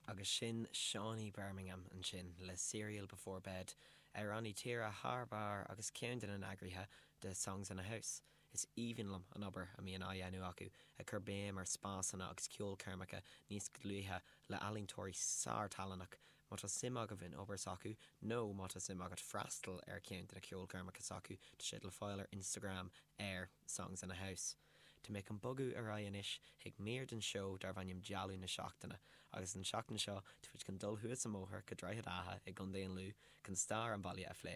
Agus sin Seánie Birmingham ansin le Cereal Before Bed, amhránaí tíre thar barr agus ceann de na n-eagraithe de Songs in a House. Is aoibhinn liom an obair a mbíonn á dhéanamh acu ag cur béim ar spásanna agus ceolchoirmeacha níos dlúithe le ealaíontóirí sár-tallannach. Má tá suim agaibh in obair s'acu nó má tá suim agat freastal ar cheann de na ceolchoirmeacha s'acu tá siad le fáil ar Instagram ar Songs in a House. Tá mé chun bogadh ar aghaidh anois chuig mír den seó darb ainm Dealbh na Seachtaine, agus an tseachtain seo tá muid chun dul thuas an bóthar go Droichead Átha i gContae an Lú chun stair an bhaile a phlé.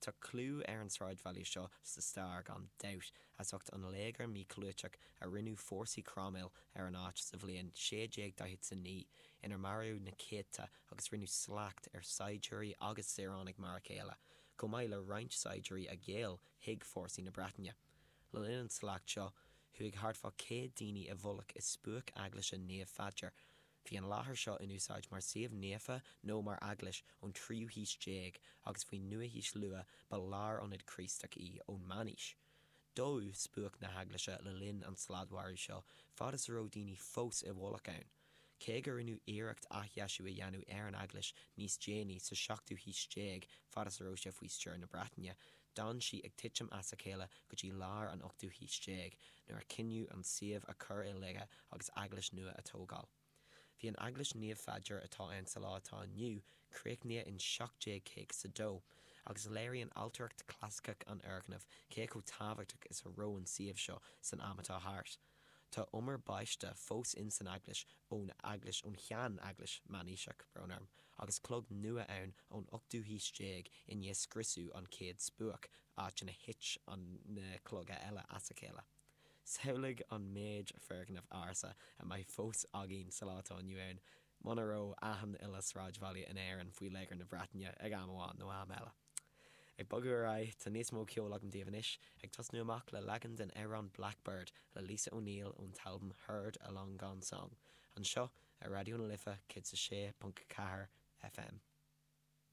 Tá clú ar an sráidbhaile seo sa stair gan dabht as ucht an léigear míchlúiteach a rinne fórsaí Cromwell ar an áit sa bhliain 1649 inar maraíodh na céadta agus rinneadh slacht ar saighdiúirí agus saoránaigh mar a chéile, chomh maith le roinnt saighdiúirí a ghéill chuig fórsaí na Breataine. Le linn an tslacht seo, chuaigh thart fá 100 daoine i bhfolach i spuaic eaglaise Naomh Pheadair. Bhí an láthair seo in úsáid mar suíomh naofa nó mar eaglais ón tríú haois déag agus faoin nua-haois luath ba lárionad Críostach í ón meánaois. Dódh spuaic na heaglaise le linn an sladmharú seo fad is a raibh daoine fós i bhfolach ann. Cé go rinneadh iarracht athdheisiú a dhéanamh ar an eaglais níos déanaí sa seachtú haois déag fad is a raibh sé faoi stiúir na Breataine, d'fhan sí ag titim as a chéile go dtí lár an ochtú haois déag, nuair a cinneadh an suíomh a chur i laige agus eaglais nua a tógáil. Bhí an Eaglais Naomh Pheadair atá ann sa lá atá inniu críochnaithe in 1752, agus léiríonn ailtireacht chlasaiceach an fhoirgnimh cé chomh tábhachtach is a raibh an suíomh seo san am atá thart. Tá umar baiste fós in san eaglais ón eaglais ón shean-eaglais meánaoiseach, brón orm, agus clog nua ann ón ochtú haois déag i ndiaidh scriosadh an chéad spuaic, áit ina thit an na cloga eile as a chéile. Samhlaigh an méid foirgneamh ársa a mbeadh fós againn sa lá atá inniu ann muna raibh achan uile sráidbhaile in Éirinn faoi léigear na Breataine ag am amháin nó am eile. Ag bogadh ar aghaidh, tá níos mó ceoil agam daoibh anois, ag tosnú amach le leagan den amhrán Blackbird le Lisa O'Neill ón t-albam Heard a Long Gone Song, anseo ar Raidió na Life 106.4 FM.